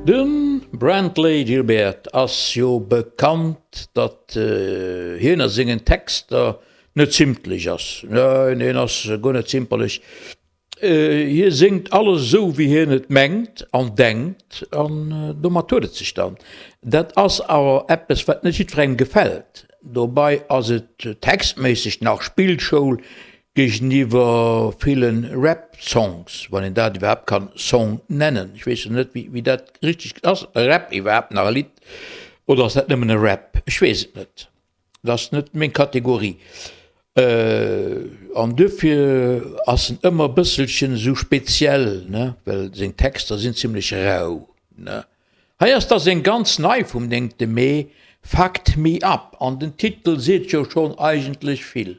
De Brantley Gilbert ass jo bekannt, datt hien a sengen Texter net zimtlech ass. Neen, hien ass guer net zimperlech. Hie séngt alles esou, wéi hien et mengt an denkt, an domat huet et sech dann. Dat ass awer eppes, wat net jiddwerengem gefält. Dobei ass et textméisseg nach Spillschoul géigeniwwer ville Rap-Songs, wann een dat iwwerhaapt kann Song nennen. Ech weess jo net, wéi dat richteg ass. Rap iwwerhaapt nach e Lidd oder ass dat nëmmen e Rap? Ech weess et net. Dat ass net meng Kategorie. An duerfir ass en ëmmer e bësselchen esou speziell, ne, well seng Texter sinn zimlech rau, ne. Hei ass da seng ganz nei vum 9 Mee, Fucked Me Up, an den Titel seet jo schonn eigentlech vill.